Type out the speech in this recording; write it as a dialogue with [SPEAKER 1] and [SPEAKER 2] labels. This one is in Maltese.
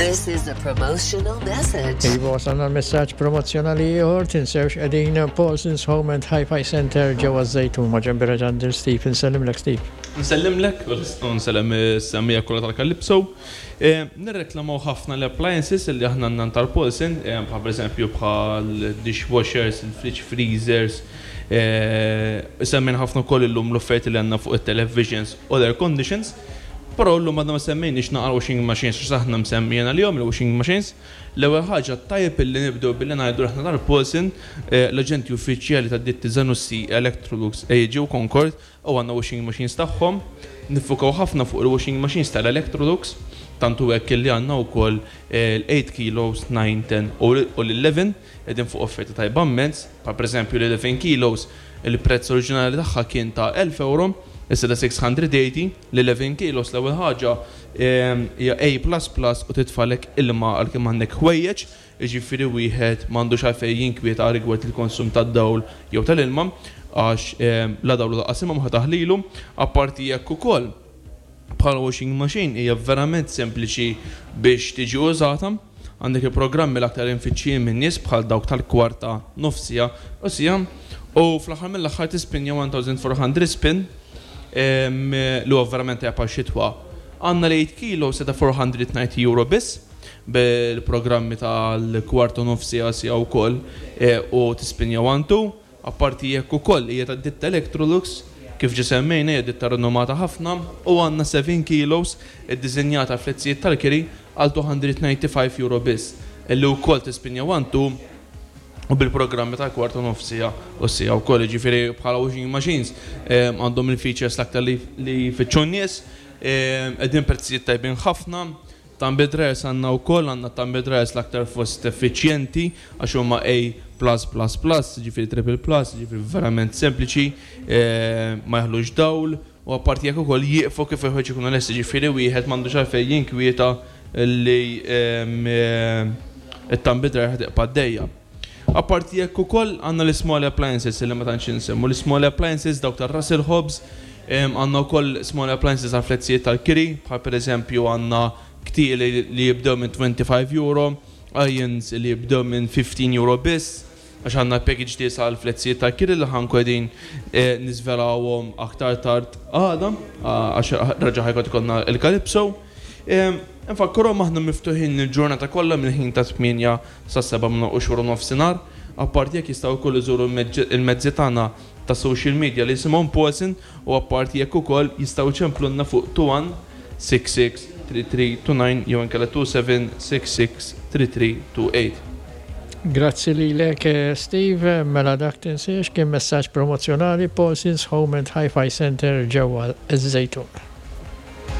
[SPEAKER 1] This is a promotional message.
[SPEAKER 2] Iva, wasalna l-messaġġ promozzjonali ieħor, tinsewx qegħdin Paulson's Home and Hi-Fi Center ġewwa Żejtun ma' ġenbi Reġandil Steve. Insellimlek Steve.
[SPEAKER 3] Nsellimlek u nsellem is-semmiegħa kollha tal-Calypso. Nirreklamaw ħafna l-appliances li aħna għandna tal-Paulson, bħal pereżempju bħal dishwashers, il-fridge freezers, semmejna ħafna wkoll illum l-offerti li għandna fuq it-televisions u l-air conditions. Però llum għadna ma semmejniex naqra washing machines għax aħna msemmijin għalihom il-washing machines. L-ewwel ħaġa tajjeb illi nibdew billi ngħidu li aħna tal-Paulson, l-aġenti uffiċjali tad-ditti Zanussi, Electrolux, AEG u Concord u għandna washing machines tagħhom. Niffukaw ħafna fuq il-washing machines tal-Electrolux, tant hu hekk illi għandna wkoll l-eight kilos, nine, ten u l-eleven qegħdin fuq offerta tajba mmens. Bħal pereżempju l-eleven kilos il-prezz oriġinali tagħha kien ta' 1,000 ewro, issa ta' 680. L-11 kilos l-ewwel ħaġa hija A plus plus u titfagħlek ilma għal kemm għandek ħwejjeġ, jiġifieri wieħed m'għandux għalfejn jinkwieta rigward il-konsum tad-dawl jew tal-ilma għax la dawl u lanqas ilma ma ħa taħlilu. Apparti hekk ukoll bħala washing machine hija verament sempliċi biex tiġi użata. Għandek il-programmi l-aktar imfittxijin min-nies bħal dawk tal-kwarta, nofs siegħa u siegħa u fl-aħħar mill-aħħar tispinja 1400 spin li huwa verament tajjeb għax-xitwa. Għandna l-eight kilo se ta' 490 euro biss bil-programmi tal-kwarta u nofs siegħa siegħa wkoll u tispinja one two. Apparti hekk ukoll hija ta' ditta Electrolux, kif ġa semmejna hija ditta rinomata ħafna u għandna 7 kilos iddiżinjata għall-flezzijiet tal-kiri għal 295 euro biss, illi wkoll tispinja one two u bil-programmi tal-kwart u nofs siegħa u siegħa wkoll, jiġifieri bħala washing machines għandhom il-features l-aktar li jfittxu n-nies, qegħdin prezzijiet tajbin ħafna. Tumble dryers għandna wkoll, għandna tumble dryers l-aktar fost effiċjenti għax huma A plus plus plus, jiġifieri triple plus, jiġifieri verament sempliċi, ma jaħlux dawl u apparti hekk ukoll jieqfu kif il-ħwejjeġ ikunu lesti, jiġifieri wieħed m'għandux għalfejn jinkwieta li t-tumble dryer ħa tibqa' għaddejja. Apparti hekk ukoll għandna l-small appliances li ma tantx insemmu. L-small appliances dawk tar-Russell Hobbs, għandna wkoll small appliances għal flezzijiet tal-kiri, bħal pereżempju għandna ktieli li jibdew minn 25 euro, irons li jibdew minn 15 euro biss, għax għandna package deals għal flezzijiet tal-kiri li ħa nkunu qegħdin niżvelawhom aktar tard għada, għax reġa' ħa jkun ikollna l-Calypso. Infakkarhom aħna miftuħin il-ġurnata kollha mill-ħin ta' 8 sas-sebgħa minn u xhur u nofsinhar. Apparti hekk jistgħu wkoll iżuru l-mezzi tagħna ta' social media li jisimhom Paulson u apparti hekk ukoll jistgħu jċemplulna fuq 21663329 jew inkella 27663328.
[SPEAKER 2] Grazzi lilek Steve, mela dak tinsiex kien messaġġ promozzjonali Paulson's Home and Hi-Fi Centre ġewwa ż-Żejtun.